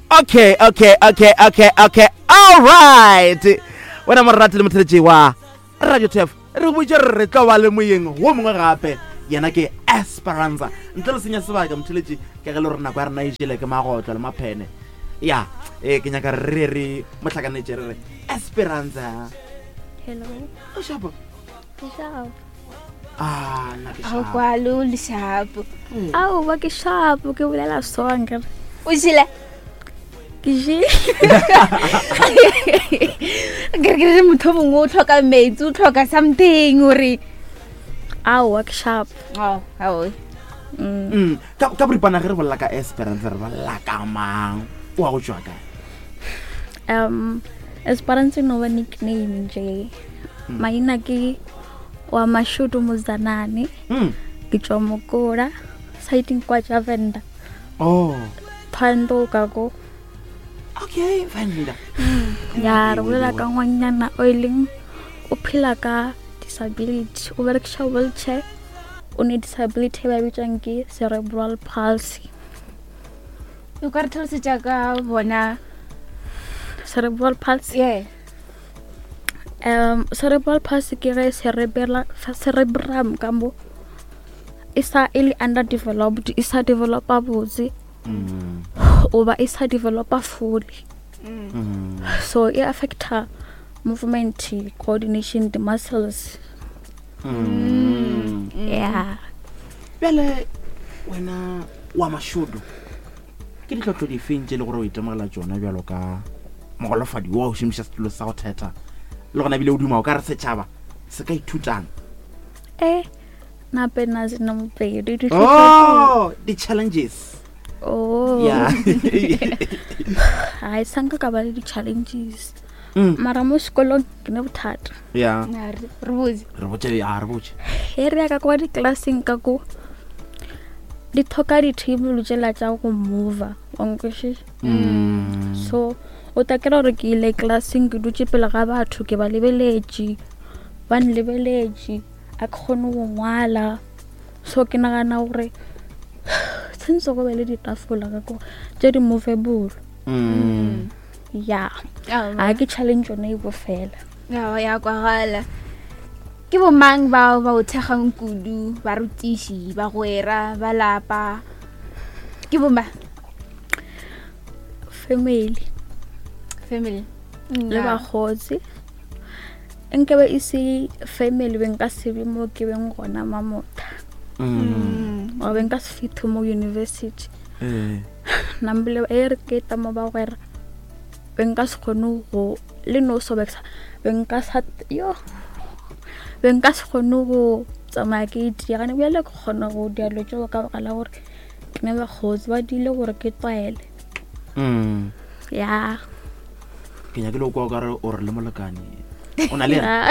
Okay, okay, okay, okay, okay. All right. Wena morati le motheletši wa Radio TF. Re botše re re tlo ba le moyeng wo mongwe gape. Yena ke Esperanza. Ntle le senya sebaka motheletši ke ge le gore nako ya rena e jele ke magotlo le maphene. Ya, eh ke nyaka re re mohlakanetše re re Esperanza. Hello. O shapo. Ke shapo. Ah, nna ke Ao shapo. kwalo le shapo. Aowa ke shapo ke bolela so nkere. O jele. Ke jele. Ke re ke re motho mongwe o tlhoka metsi, o tlhoka something gore Aowa ke shapo. Oh, ao. Mm. Mm, ka ka boripana ge re bolela ka Esperanza re bolela ka mang? O wa go tšwa kae? Um Esperanza no ba nickname nje. Mm. Maina ke wa Mashudu Muzanani. Mm. Ke tšwa Mokola siding kwa tša Venda. Oh. Thando ka ko. Okay, Venda. Ya re bolela ka ngwanyana o e leng o phela ka disability, o berekiša wheelchair, o ne disability e ba bitsang ke cerebral palsy. O ka re tlhalosetša ka bona Cerebral palsy? Yeah. Um, cerebral palsy ke ge cerebella, cerebrum ka mo e sa e le underdeveloped, e sa developa botse Mm. oba e sa developa fully. Mm. So e affecta movement, coordination, the muscles. Mm. Yeah. Bjale wena wa Mashudu ke ditlhotlo difeng tše e le gore o itemogela tšona bjalo ka mogolofadi wa o šomiša setulo sa go thetha le gona ebile o duma o ka re setšhaba se ka ithutang? Eh, nape na sena mopedi Oh, di-challenges. Oh. Yeah. Hai sanka ka ba le di-challenges. Mm. Mara mo sekolong ke ne bothata. Yeah. Na, re re botse. Re botše, ya, re botše. He re ya ka kwa di-classeng ka ko di tlhoka di-table tšela tša go mover, wa nkwešiša? Mm. So o tla kry-a gore ke ile classeng ke dutše pele ga batho ke ba lebeletše, ba nlebeletše, a ke kgone go ngwala. So ke nagana gore tshwanetse go be le ditafola ka ko tše di movable. Mm. Ya. Aowa. A ke challenge yone e bo fela. Ya, ya kwagala. Ke bomang bao ba o thekgang kudu, barutiši, bagwera, ba lapa? Ke bomang? Family. Family. Le Ya. bakgotsi. Nkabe e se family be nka se be mo ke beng gona mamotha. Mm. Wa be nka se fithe mo university. Eh. Nambile e re ke ta mo bagwera. Be nka se kgone go le no so beksa. Be nka sa yo. Be nka se kgone go tsamaya ke itia gane bjale ke kgona go dia dilo tšeo ka baka la gore ke ne bakgotsi ba dile gore ke tlwaele. Mm. Ya. Ke nyakile go kwa o kare o re le molekane. O na le yena?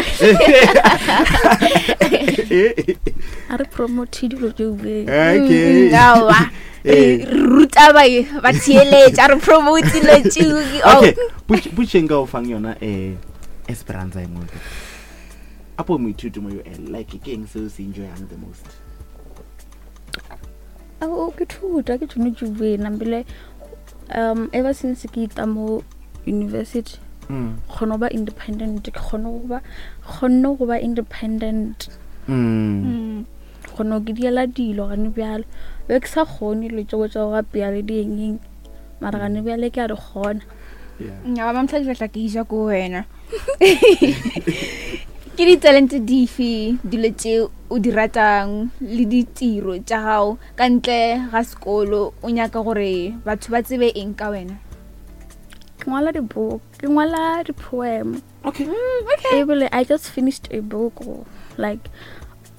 A re promote dilo tšeo be. Okay. Mm, aowa. Eh. Re ruta ba ba theeletša, re promote dilo tšeo. Oh. Okay, potšeng ka o fang yona eh Esperanza e nngwe. Apo moithuti mo UL, like ke eng seo se enjoyang the most? Ao, ke thuta ke tšone tšubeng nambile um ever since ke ita mo university Mm. kgone go ba independent, ke kgone go ba kgonne go ba independent. Mm. Mm. Kgone go ke diela dilo gane bjalo. Be ke sa kgone dilo tšeo tša go apea le dieng, mara gane bjale ke a di kgona. Yeah. Nnyaa, ba mosadi ba tla ke ja ko wena. Ke ditalente dife dilo tše o di ratang le ditiro tša gago ka ntle ga sekolo o nyaka gore batho ba tsebe eng ka wena? Ke ngwala di-book, ke ngwala di-poem. Okay. Okay. Ebile I just finished a book like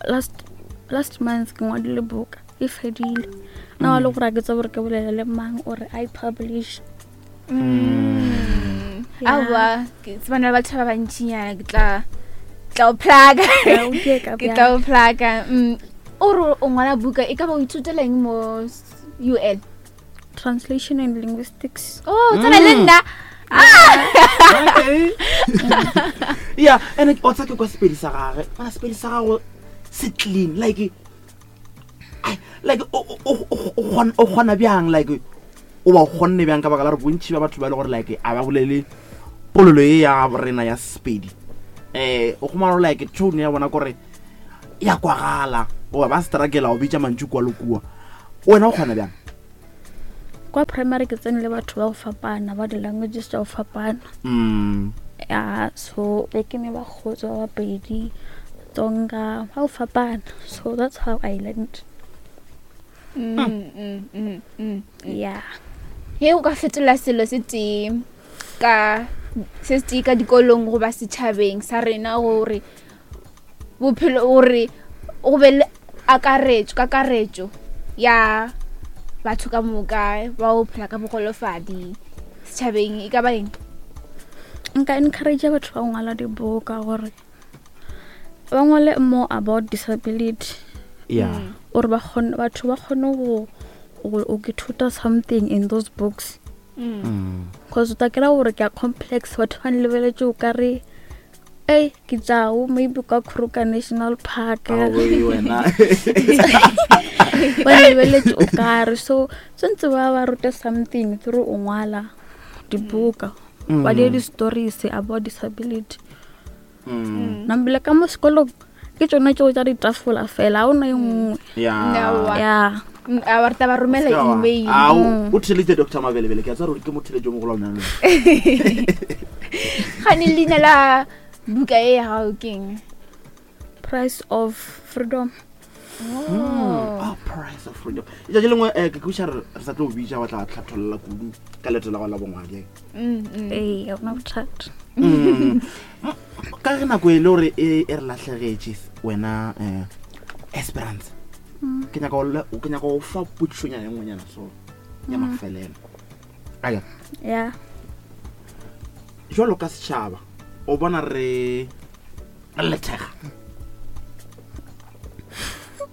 last month ke ngwadile book e fedile. Nna wa le gore a ke tsebe gore ke bolele le mang ore I publish. Mm. Yeah. Aowa, ke tsebana le batho ba bantšinyana, ke tla o plug-a. Ya, o ke ka Ke tla bjang. o plug-a. Mm. O re o ngwala buka, e ka ba o ithutela eng mo UL? Translation and linguistics. Oh, tsena le Mm. nna. Okay. Yeah, and o tsa ke kwa sepedi sa gagwe. Mara sepedi sa gago se clean, like, ai, like, o, o, o, o, o kgona, o kgona bjang, like, o ba o kgonne bjang ka baka la gore bontšhi ba batho ba e le gore like a ba bolele polelo e ya rena ya sepedi um o kgomana gore like tone ya bona kore ya kwagala goba ba struggle go bitša mantšu kua le kua wena o kgona bjang Kwa primary ke tsene le batho ba go fapana ba di-languages tša go fapana. Ya so be ke ne ba kgotsa ba Bapedi, Tsonga, ba go fapana. So that's how I learned. Yeah. Ge o ka fetola selo se tee ka se tee ka dikolong goba setšhabeng sa rena gore bophelo gore go be le akaretšo kakaretšo ya batho ka moka ba go phela ka bogolofadi setšhabeng e ka ba eng? Nka encourage batho ba go ngwala dibuka gore ba ngwale more about disability. Yeah. Gore ba kgone, batho ba kgone go go ithuta something in those books. Cause o tla kry-a gore ke a complex, batho ba nlebeletše o ka re ei ke tšao maybe kwa Kruger National Park. Aowe, wena. Ba lebeletše o kare so tshwanetse ba ba rute something through o ngwala dibuka ba die di-stories about disability. Nambile ka mo sekolong ke tsone tseo tša ditafola fela, ga o na e nngwe. Yeah. Yeah. A ba re tla ba romela email. Ao, o theleditše Doctor Mabelebele, ke a tseba gore ke motheletši o mogolo wa lena. Gane leina la buka e ya gago ke eng? Price of Freedom. Oh. Oh, Price of Freedom. Letšatši lengwe eh, ke kweša re re sa tlo bitša wa tla tlhatholla kudu ka leeto la go la bongwadi. Ee, ga gona bothata. Ka ge nako e le gore e e re lahlegetše wena eh, Esperance. Ke nyaka go le- ke nyaka go fa potšišonyana e nngwenyana so ya mafelelo. Aya. Yeah. Jwalo ka setšhaba o bona re re lethega.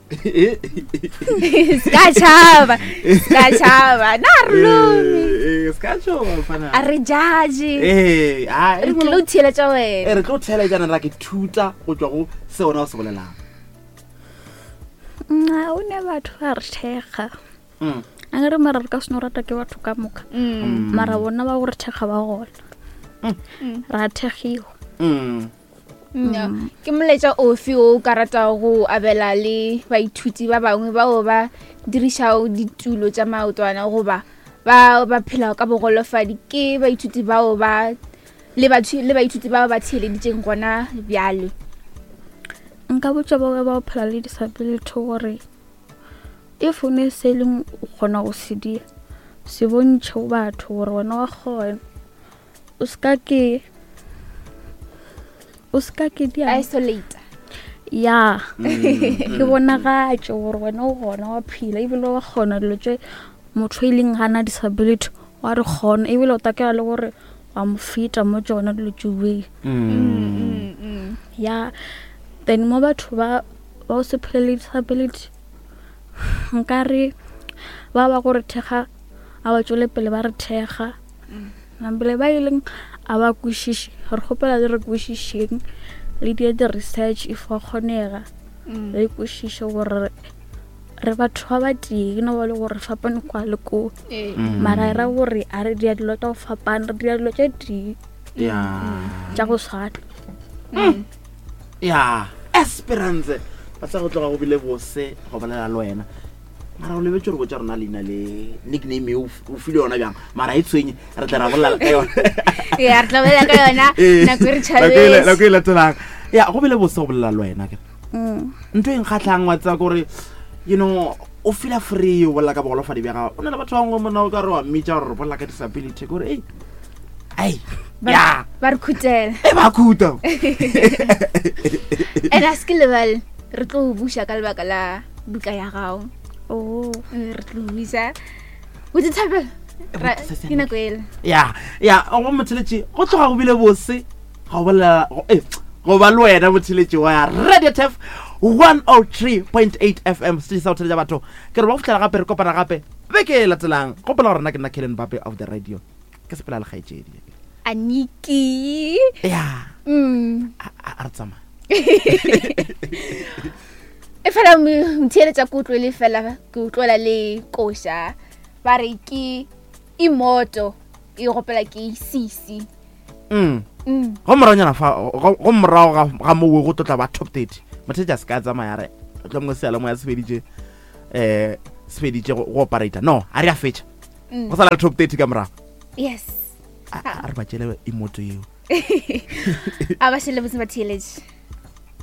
Se ka tšhaba, se ka tšhaba. Na re lome. Eh, se ka tšhoba mfana. A re judge. Eh, ah, Re tlilo theeletša wena. Eh, re tlo theeletšana ra ke thuta go tšwa go se wena o se bolelang. Nna o ne batho ba re thekga. A re mara re ka se no rata ke batho ka moka. Mara bona ba go re thekga ba gona. Ra thekgiwa. Ke molaetša ofe o ka ratago go abela le baithuti ba bangwe bao ba dirišago ditulo tša maotwana goba ba ba phelago ka bogolofadi? Ke baithuti bao ba le batho le baithuti bao ba theeleditšeng gona bjale. Nka botša bao ba phela le disability gore if o ne se leng o kgona go se dira, se bontšhe go batho gore wena wa kgona. O ska ke o ska ke dia isolate. Ya. Ke bonagatše gore wena o gona wa phela ebile wa kgona dilo tše motho e leng gana disability wa re kgona ebile o takela le gore wa mo feta mo tšona dilo tšeo. Ya. Then mo batho ba ba o se phele le disability nkare ba ba gore thekga a ba tšwele pele ba re thekga. Nambile ba e leng a ba kwešiše, re kgopela le re kwešišeng le die di-research if wa kgonega re kwešiše gore re batho ba ba tee no ba le gore fapane kwa le ko. Mara e ra gore a re dia dilo tša go fapana, re dia dilo tše tee tša go swana. Ya, Esperance ba sa go tloga go bile bose go bolela le wena. Mara o lebetse gore botša rona leina le nickname e o file yona bjang, mara e tshwenye re tla ra bolela ka yona. Ya, re tla bolela ka yona nako e re tšhabetse. Nako e latelang. Ya, go bile bose go bolela le wena ke. Ntho e nkgatlhang wa tseba gore you know o feel free o bolela ka bogolofadi bja gago. O na le batho ba bangwe monna o ka re wa mmitša gore re bolela ka disability gore ei ai ya ba re khutela. E ba khuta. And a se ke lebale re tlo o buša ka lebaka la buka ya gago. Oh. Re tlo buša. O di thabela? Ke nako ele. Ya, ya, go motheletši go tloga go bile bose go bolela go ba le wena motheletši wa Radio Turf 103.8 FM se sa go theletša batho. Ke re ba go fihlela gape re kopana gape beke e latelang. Gopola gore nna ke nna Kellen Mbappe of the radio. Ke sepela le kgaetšedi. Aniki. Ya. A re tsamaya. E fela motheeletša ke utlwele fela ke utlwela le koša ba re ke Imoto e gopela ke Sisi. Go moranyana fa go morago ga mowe go tlotla ba top 30. Mothetša se ka tsamaya re tlo mongwe seyalemoya se feditše um se feditše go operator. No, a re a fetša. Go sala le top 30 ka morago. Yes. A re ba tšele imoto yeo. A ba šele botse ba theeletše.